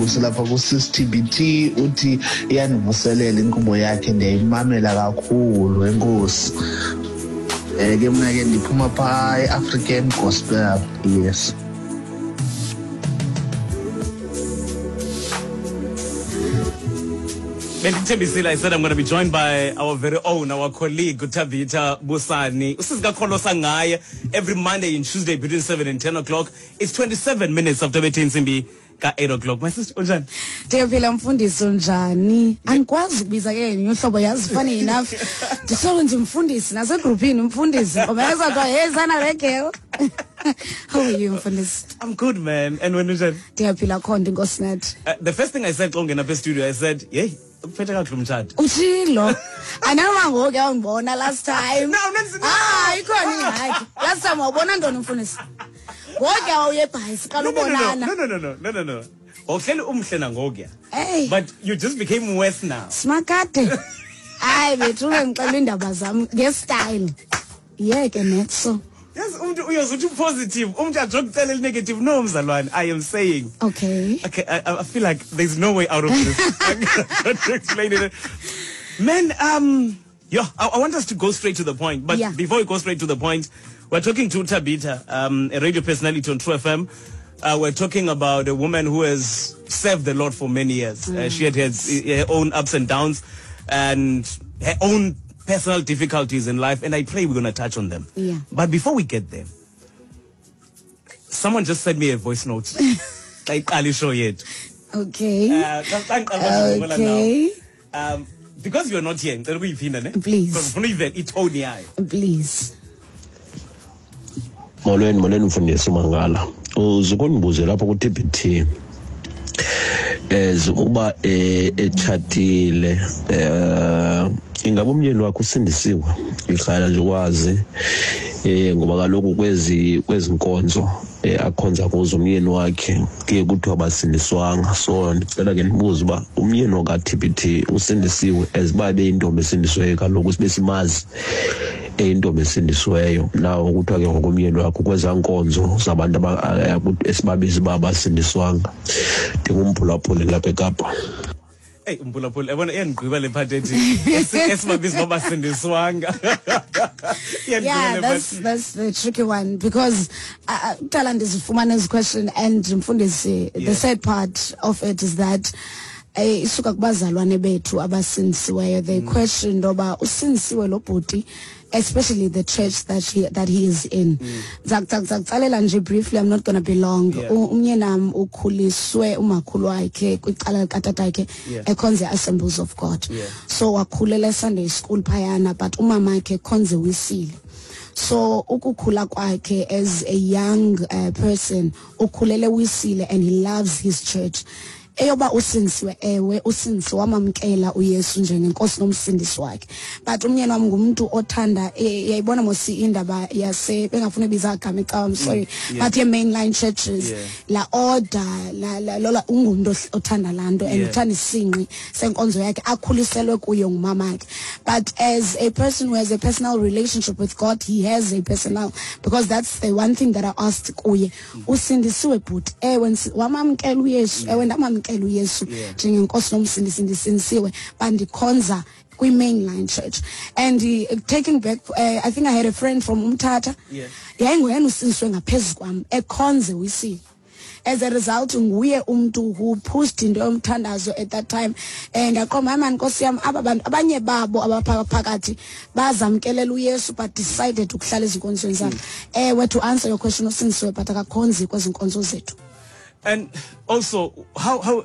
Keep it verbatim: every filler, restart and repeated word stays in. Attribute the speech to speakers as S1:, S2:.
S1: Lapha ku-Sis T B T uthi iyandivuselela inkqubo yakhe, ndiyayimamela kakhulu. Enkosi. um ke mna ke ndiphuma phaa e-African Gospel, yes.
S2: Bendikuthembisile, I said I'm going to be joined by our very own, our colleague, Tabitha Busani. Usisi kaKholosa ngaye every Monday and Tuesday between seven and ten o'clock. It's twenty-seven minutes after bethe intsimbi ka-eight o'clock. My sister, unjani?
S3: Ndiyaphila mfundisi, unjani? Andikwazi ukubiza ke ngenye uhlobo, yazi, funny enough. Ndisoloko ndimfundisi nasegrupini mfundisi. Ngoba yazathiwa, "Hey sana le girl." How are you, mfundisi?
S2: I'm good, man. And when unjani?
S3: Ndiyaphila khona, inkosi nathi.
S2: Uh, the first thing I said xa ungena apha studio, I said, "Hey, uphethe kakuhle umtshato."
S3: Utshilo. Andinoma ngoku yawundibona last time.
S2: No, no, no.
S3: Ah, ikhona ingxaki. Last time wawubona ntoni, mfundisi? Ngoku wawuye eBhayi siqala
S2: No, no, no, no,
S3: ubonana.
S2: no, no, no, no, no, no, no. Wawuhleli umhle nangokuya.
S3: Hey.
S2: But you just became worse now.
S3: Simakade. Hayi bethu, ungangixela iindaba zam ngestyle. Yeke netso.
S2: Yes, umuntu uyozuthi positive, umuntu ajokucela negative. No, mzalwane, I am saying.
S3: Okay.
S2: Okay, I, I feel like there's no way out of this. I'm to explain it. Man, um, yeah, I, I want us to go straight to the point. But
S3: Yeah.
S2: before we go straight to the point, we're talking to Tabitha, um, a radio personality on True F M. Uh, we're talking about a woman who has served the Lord for many years. Uh, she had had her own ups and downs and her own personal difficulties in life, and I pray we're going to touch on them.
S3: Yeah.
S2: But before we get there, someone just sent me a voice note. Xa iqala ishow yethu.
S3: Okay.
S2: Uh, xa- xa ngiqala ukuzibulela
S3: Okay.
S2: now. Um, because you're not here, ngicela ukuyiphinda ne?
S3: Please.
S2: Because ngifuna uyive itone yayo.
S3: Please.
S4: Molweni, molweni mfundisi uMangala. Uzukundibuze lapho ku-T B T as uba eh, etshatile, eh ingabe umyeni wakhe usindisiwe? Ihlala nje ukwazi eh ngoba kaloku kwezi kwezi nkonzo eh akhonza kuzo umyeni wakhe kuye kuthiwa basindiswanga. So ndicela ke ndibuze uba umyeni ka-T B T usindisiwe, as uba beyintombi esindisiweyo. Kaloku sibe simazi eyintombi esindisiweyo. Nawo kuthiwa ke ngokomyeni wakho kwezaa nkonzo zabantu aba- eh, esibabiza uba basindiswanga. Ndingumphulaphuli lapha eKapa.
S2: Hey, umphulaphuli, yabona iyandigqiba le part ethi esi- esibabiza uba basindiswanga. Iyandigqiba
S3: Yeah,
S2: le
S3: that's
S2: part.
S3: That's the tricky one because uh, kuqala ndizifumana ezi question and mfundisi,
S2: Yeah.
S3: the sad part of it is that eh isuka kubazalwane bethu abasindisiweyo. They question ndoba usindisiwe lo bhuti, especially the church that he that he is in. Ndizakutsalela nje briefly, I'm not going to be long.
S2: Yeah.
S3: U- umyenam ukhuliswe umakhulu wakhe kwicala likatatakhe
S2: Yeah.
S3: ekhonze Assemblies of God.
S2: Yeah.
S3: So wakhulela Sunday school phayana, but umamakhe khonze Wisile. So ukukhula kwakhe as a young uh, person, ukhulele Wisile and he loves his church. Eyoba usindisiwe, ewe, usindisiwe, wamamkela uYesu njengenkosi nomsindisi wakhe. But umyeni wami ngumuntu othanda eh, yayibona mosi indaba yase bengafuna ibiza igama ecawa, I'm sorry,
S2: yeah.
S3: but ye mainline churches,
S2: Yeah.
S3: la order la la lola, ungumuntu ohl- othanda lanto and
S2: Yeah.
S3: uthanda isinqi senkonzo yakhe akhuliselwe kuyo ngumamakhe. But as a person who has a personal relationship with God, he has a personal, because that's the one thing that I asked kuye: "Usindisiwe bhuti?" "Ewe, ndisi- wamamkela uYesu?" "Ewe, ndamamkela uYesu
S2: Yeah.
S3: njengenkosi nomsindisi, ndisindisiwe, bandikhonza kwi-mainline church." And uh, taking back, uh, I think I had a friend from Umthatha,
S2: Yeah.
S3: yayinguyena usindiswe ngaphezu kwam, ekhonze Wisile. As a result, nguye umntu who pushed into yomthandazo at that time, and aqoma, "Hayi mani, nkosi yam, aba bantu abanye babo abaphakathi bazamkelela uYesu but decided ukuhlala ezinkonzweni zabo." Ewe, to answer your question, usindisiwe but akakhonzi kwezi nkonzo zethu.
S2: And also, how how